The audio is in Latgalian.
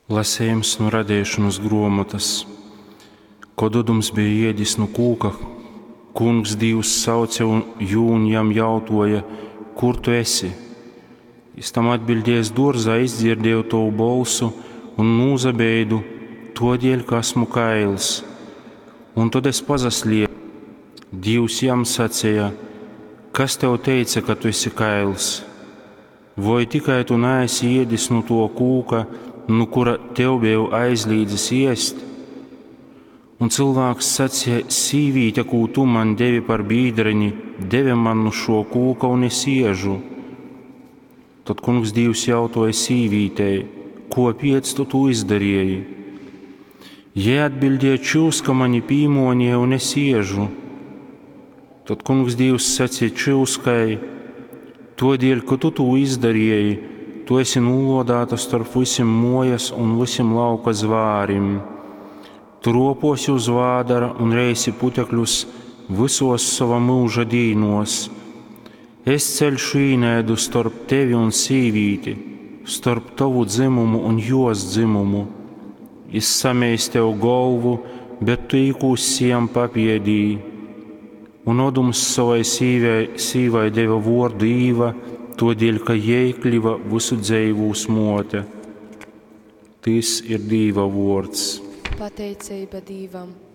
Lasejums nu Radeišonys gruomotys. Kod Odums beja iedis nu kūka, Kungs Dīvs sauce jū un jam jautuoja, Kur tu esi? Jis tam atbiļdēja, Es duorzā izdzierdēju tovu bolsu un nūsabeidu, tuodēļ, ka esmu kails. Un tod es pasasliepu. Dīvs jam saceja, Kas tev teica, ka tu esi kails? Voi tikai tu neesi iedis nu tuo kūka, nu kura tev beju aizlīdzis iest? Un cylvāks saceja, Sīvīte, kū tu man devi par bīdreni, deve man nu šo kūka, un es iežu. Tod kungs Dīvs jautoja sīvītei, Kopiec tu tū izdarīji? Jei atbildēja, Čyuska mani pīmonīja, un es iežu. Tod kungs Dīvs sacīja čyuskai, Todēļ, ka tu tū izdarīji, tu esi nūlodēta starp visim mojas un visim lauka zvārim. Tu roposi uz vādara un reisi putekļus visos sova mūža dīnos. Es ceļšu īnaidu starp tevi un sīvīti, starp tavu dzimumu un jos dzimumu. Jis sameis tev golvu, bet tu īkūssi jam papiedī. Un Odums savai sīvai, sīvai deva vuordu Īva, todēļ, ka jei kļiva visu dzeivūs mote. Tys ir Dīva vuords. Pateiceiba Dīvam.